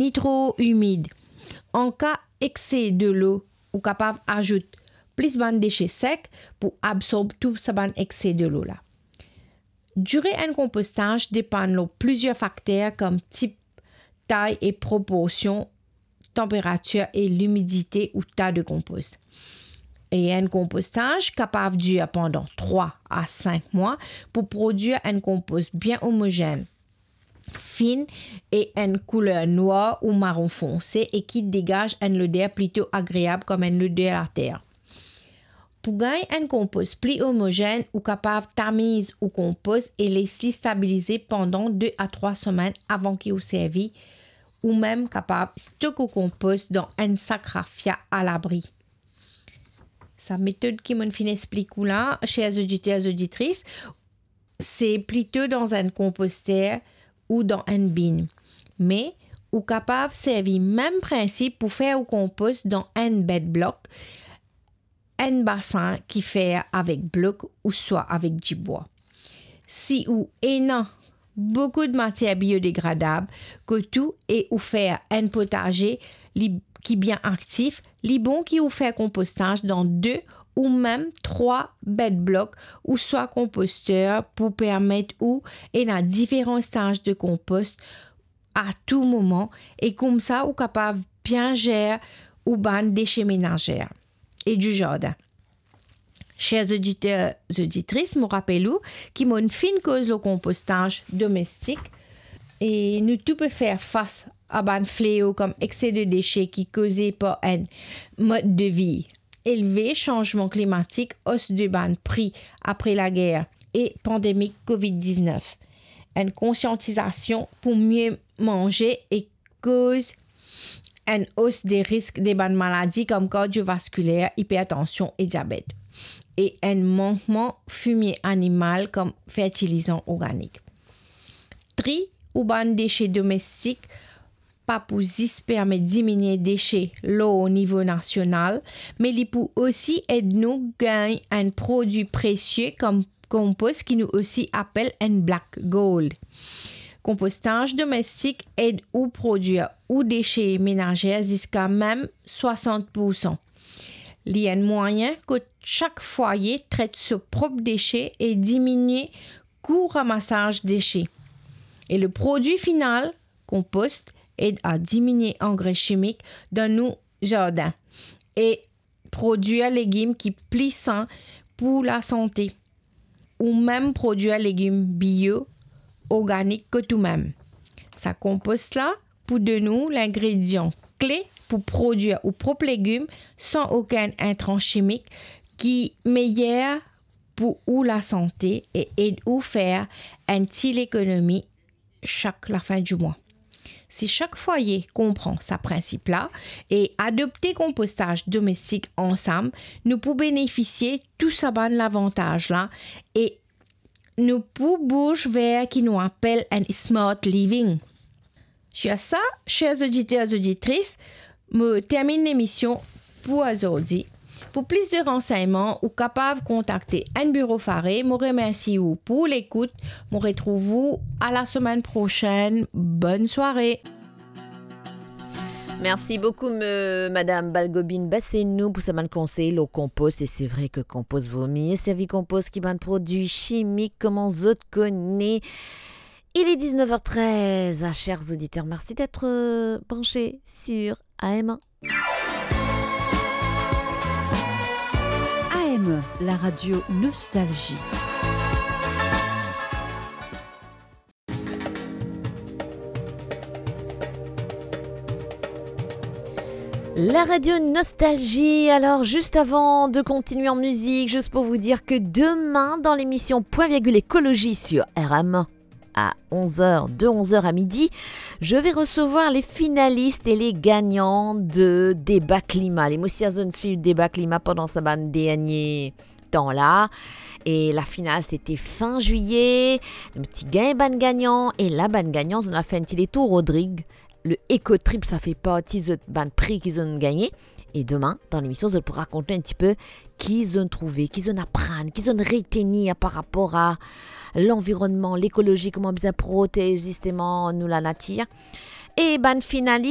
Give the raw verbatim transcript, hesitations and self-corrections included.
ni tro imid. An ka ekse delo, ou kapav azout plis bann dese sek pou absorb tou sa bann ekse delo la. Dire enn konpostaz depann lor plizier fakter kom tip, tay e proporsion, tanperatir e limidite ou ta de konpos. E enn konpostaz kapav dir pandan trwa a sink mwa pou prodwir enn konpos bien omozenn, fin e enn kouler nwar ou maron fonse e ki degaz enn loder plito agreab kom enn loder later. Pou gagn enn konpos pli omozenn, ou kapav tamiz ou konpos e les li stabilize pandan de a trwa semenn avan ki ou servi, ou mem kapav stok ou konpos dan enn sak rafia alabri. Sa metod ki mo'nn finn explik ou la, cher oditer, oditris, se plito dan enn konposter ou dan enn bin. Me ou kapav servi mem prinsip pou fer ou konpos dan enn bed block, enn basin ki fer avek blok ouswa avek dibwa. Si ou ena boukou de matier biodegradab kot ou e ou fer enn potaze li, ki bien aktif, li bon ki ou fer konpostaz dan de ou mem trwa bed block ouswa konposter pou permet ou ena diferan staz de konpos a tou moman e koumsa ou kapav bien zer ou bann dese menazer e di zardin. Cher oditer, oditris, mo rapel ou ki mo'nn finn koz lor konpostaz domestik e nou tou pe fer fas a bann fleo kom ekse de dese ki koze par enn mod de vi elve, sanzman klimatik, os de bann pri apre lager e pandemi covid diznef. Enn konsiantizasion pou mie manze e koz enn os de risk de bann maladi kom kardiovaskiler, ipertansion e diabet, e enn mankman fimie animal kom fertilizan organik. Tri ou bann dese domestik pa pou zis permet diminie dese lor nivo nasional, me li pou osi ed nou gagn enn prodwi presie kom konpos ki nou osi apel enn black gold. Konpostaz domestik ed ou prodwir ou dese menazer ziska mem swasant poursan. Li enn mwayin kot sak fwaye tret so prop dese e diminie kou ramasaz dese. E le prodwi final, konpos, ed a diminie angre simik dan nou zardin e prodwir legim ki pli san pou lasante, ou mem prodwir legim bio, organik kot ou mem. Sa konpos la pou donn ou lingredian kle pou prodwir ou prop legim san okenn intran simik ki meyer pou ou lasante e ed ou fer enn ti lekonomi sak lafin di mwa. Si sak fwaye konpran sa prinsip la e adopte konpostaz domestik ansam, nou pou benefisie tou sa bann lavantaz la e nou pou bouz ver ki nou apel enn smart living. Sir sa, cher oditer, oditris, mo terminn lemision pou azordi. Pou plis de ransegnman, ou kapav kontakte enn biro Fare. Mo remersi ou pou lekout. Mo retrouv ou a la semenn prosenn. Bonn sware. Merci beaucoup, me, Madame Balgobine Bassenou, pour sa bann konsey lor konpos. E se vre ke konpos, vo mie servi konpos ki bann prodwi simik, kouma zot kone. Il est dix-neuf heures treize. Ah, chers auditeurs, merci d'être, euh, branchés sur A M un. A M un, la radio Nostalgie. La radio Nostalgie. Alors, juste avant de continuer en musique, juste pour vous dire que demain, dans l'émission Point Virgule Écologie sur R M un, à onze heures, de onze heures à midi, je vais recevoir les finalistes et les gagnants de Débat Climat. Les mosi a zot inn swiv Débat Climat pandan sa bann dernie tan la. E la final, c'était fin juillet. Nou ti gagn bann gagnan. E la, bann gagnan, zot inn al fer enn ti letour Rodrig. Le Eco Trip, sa fer parti zot bann pri ki zot inn gagne. E demin, dan lemision, zot pou rakont nou enn ti pe ki zot inn trouve, ki zot inn aprann, ki zot inn retenir par rapor a lanvironnman, lekolozi, kouma bizin protez zisteman nou lanatir. E bann finalis,